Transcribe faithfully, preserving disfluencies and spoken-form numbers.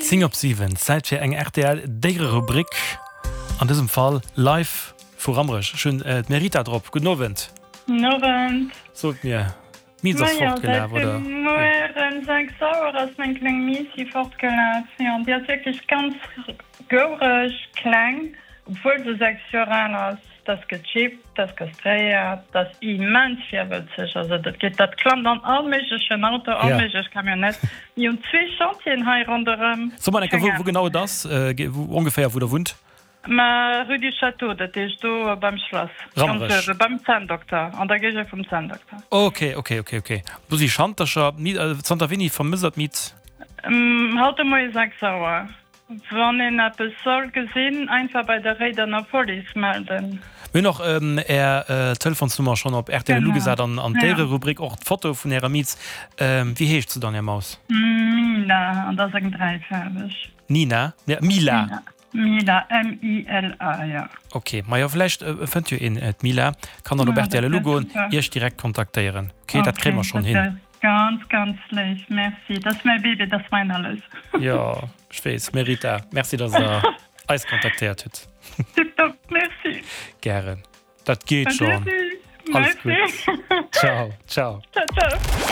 Zéng op siwen, Zäit fir eng rtl Déiererubrik, an dësem Fall live vu Rammerech. Ech hunn d'Merita drop. Gudden Owend. Gudden Owend. Sot mir, d'Miz ass fortgelaf, oder? Majo, säit de Mueren sechs Auer ass meng kleng Miissi fortgelaf. Jo, an déi ass wierklech ganz goureg, kleng, obwuel se sechs Joer al ass. Dat ass gechippt, dat ass kastréiert, dat ass immens virwëtzeg. Also dat geet, dat klammt an all méiglechen Auto, all méiglech Camionnette. Mir hunn zwee Chantieren hei ronderëm. So mol eng Kéier, wou genau et ass, wou ongeféier, wou der wunnt? Ma Rue du Château, dat heescht do beim Schlass, ganz uewe beim Zänndokter, an der Géigend vum Zänndokter. Ok, ok, ok, ok. Do si Schantercher. Zanter wéini vermësst der d'Miet? Haut de Moie sechs Auer. Wann een eppes soll gesinn, einfach bei der Réidener Police melden. Mir hunn och Är Telefonsnummer schonn op rtl elo gesat an an d'Déiererubrik och d'Foto vun Ärer Miez. Wéi heescht se dann, Är Maus? Mila, an dat ass eng dräifaarweg. Nina? Ne, Mila. Mila, M-I-L-A, jo. Ok, majo vläicht fënnt jo een d'Mila, kann dann op rtl elo goen, Iech direkt kontaktéieren. Ok, dat kréie mer schonn hin. Ganz, ganz léif, merci. Dat ass mäi Bébé, dat ass mäin Alles. Jo, ech weess. Merita, merci, dass Der eis kontaktéiert hutt. Tiptop, merci. Gären. Dat geet schonn. Alles gutt. Ciao, ciao. Ciao, ciao.